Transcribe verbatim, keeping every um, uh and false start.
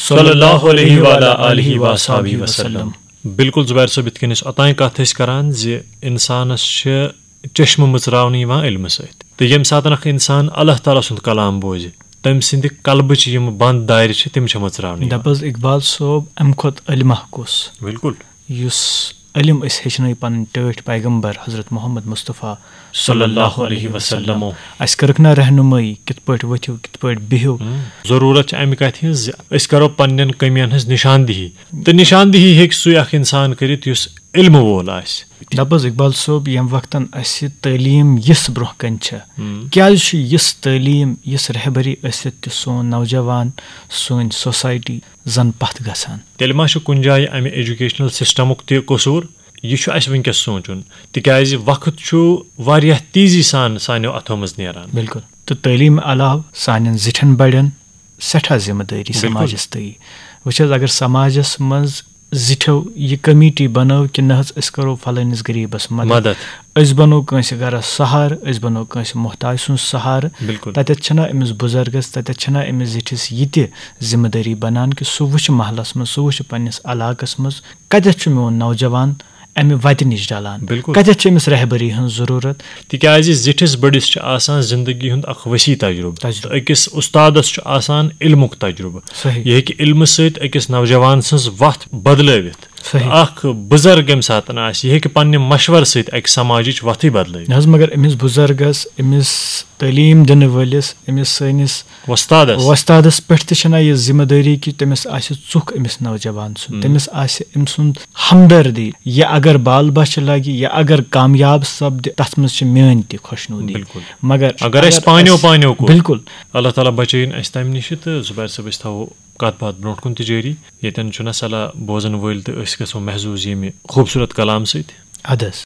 صلی اللہ علیہ وعلی آلہ وصحبہ وسلم۔ بالکل زبیر صٲب، یِتھ کٔنۍ أسۍ اوٚتام کتھ ٲسۍ کران زِ انسانس چھِ چشمہٕ مٕژراونہٕ یِوان علمہٕ سۭتۍ، تہٕ ییٚمہِ ساتہٕ اکھ انسان اللہ تعالیٰ سُنٛد کلام بوزِ، تٔمۍ سٕنٛدِ قلبٕچ یِم بنٛد دارِ چھِ، تِم چھِ مٕژراونہٕ یِوان۔ دَپ حظ اقبال صٲب، امہِ کھۄتہٕ علمہ کُس؟ بالکل۔ یُس علم أسۍ ہیٚچھنٲے پنٕنۍ ٹٲٹھۍ پیغمبر حضرت محمد مصطفیٰ صلی اللہ علیہ وسلم۔ اَسہِ کٔرٕکھ نا رہنمٲیی، کِتھ پٲٹھۍ ؤتھِو، کِتھ پٲٹھۍ بِہِو۔ ہم۔ ضروٗرت چھِ اَمہِ کَتھِ ہٕنٛز زِ أسۍ کَرو پننٮ۪ن کٔمِین ہٕنٛز نِشاندِہی، تہٕ نِشاندِہی ہیٚکہِ سُے اکھ اِنسان کٔرِتھ یُس علمہٕ وول آسہِ۔ دَپ حظ اقبال صٲب، ییٚمہِ وقتن اَسہِ تعلیٖم یِژھ برونٛہہ کَنہِ چھےٚ، ہم۔ کیٛازِ چھُ یِژھ تعلیٖم، یِژھ رہبری ٲسِتھ تہِ سون نوجوان، سٲنۍ سوسایٹی زَن پَتھ گژھان؟ تیٚلہِ ما چھُ کُنہِ جایہِ اَمہِ ایجوکیشنل سسٹمُک تہِ قصوٗر؟ یہِ چھُ اَسہِ وٕنکیٚس سونٛچُن، تِکیٛازِ وقت چھُ واریاہ تیزی سان سانیو اَتھو منٛز نیران۔ بالکل۔ تہٕ تعلیٖم علاوٕ سانٮ۪ن زِٹھٮ۪ن بڑٮ۪ن سٮ۪ٹھاہ ذمہٕ دٲری بالکل۔ سماجس تٲیی۔ وٕچھ حظ، اگر سماجس منٛز زِٹھٮ۪و یہِ کمیٹی بنٲو کہِ نہ حظ، أسۍ کرو فلٲنِس غریٖبس مدد، مدد۔ أسۍ بنو کٲنٛسہِ گرس سہارٕ، أسۍ بنو کٲنٛسہِ محتاج سُنٛد سہارٕ، بالکل۔ تتٮ۪تھ چھنہ أمِس بُزرگس، تتٮ۪تھ چھنہ أمِس زِٹھِس یہِ تہِ ذمہٕ دٲری بنان کہِ سُہ وٕچھِ محلس منٛز، سُہ وٕچھِ پننِس علاقس منٛز کتٮ۪تھ چھُ میون نوجوان، امہِ وتہِ نِش ڈلان؟ بالکل۔ کتٮ۪تھ چھِ أمِس رہبری ہٕنٛز ضروٗرت؟ تِکیٛازِ زِٹھِس بٔڑِس چھُ آسان زندگی ہُنٛد اکھ وسیع تجربہٕ۔ تجربہٕ۔ تہٕ أکِس اُستادس چھُ آسان علمُک تجربہٕ۔ صحیح۔ یہِ ہیٚکہِ علمہٕ سۭتۍ أکِس نوجوان سٕنٛز وتھ بدلٲوِتھ۔ صحیح۔ اکھ بُزرگ ییٚمہِ ساتہٕ آسہِ، یہِ ہیٚکہِ پننہِ مشورٕ سۭتۍ اکہِ سماجٕچ وتھٕے بدلٲوِتھ۔ نہ حظ، مگر أمِس بُزرگس، أمِس تعلیٖم دِنہٕ وٲلِس، أمِس سٲنِس وۄستادس۔ وۄستادس پٮ۪ٹھ تہِ چھنہ یہِ ذمہٕ دٲری کہِ تٔمِس آسہِ ژُکھ أمِس نوجوان سُنٛد، ہم۔ تٔمِس آسہِ أمۍ سُنٛد ہمدردی۔ یہِ اگر بال بچھِ لگہِ، یہِ اگر کامیاب سپدِ، تتھ منٛز چھِ میٲنۍ تہِ خۄشنودی۔ بالکل۔ مگر اگر أسۍ اگر پانیو أسۍ پانیو کوٚر۔ بالکل۔ اللہ تعالیٰ بچٲیِن اَسہِ تَمہِ نِش، تہٕ زُبیر صٲب، أسۍ تھاوو کَتھ باتھ برونٛٹھ کُن تہِ جٲری۔ ییٚتٮ۪ن چھُنہ صلاح بوزَن وٲلۍ تہٕ أسۍ گژھو محظوٗظ ییٚمہِ خوٗبصوٗرت کلام سۭتۍ۔ اَدٕ حظ۔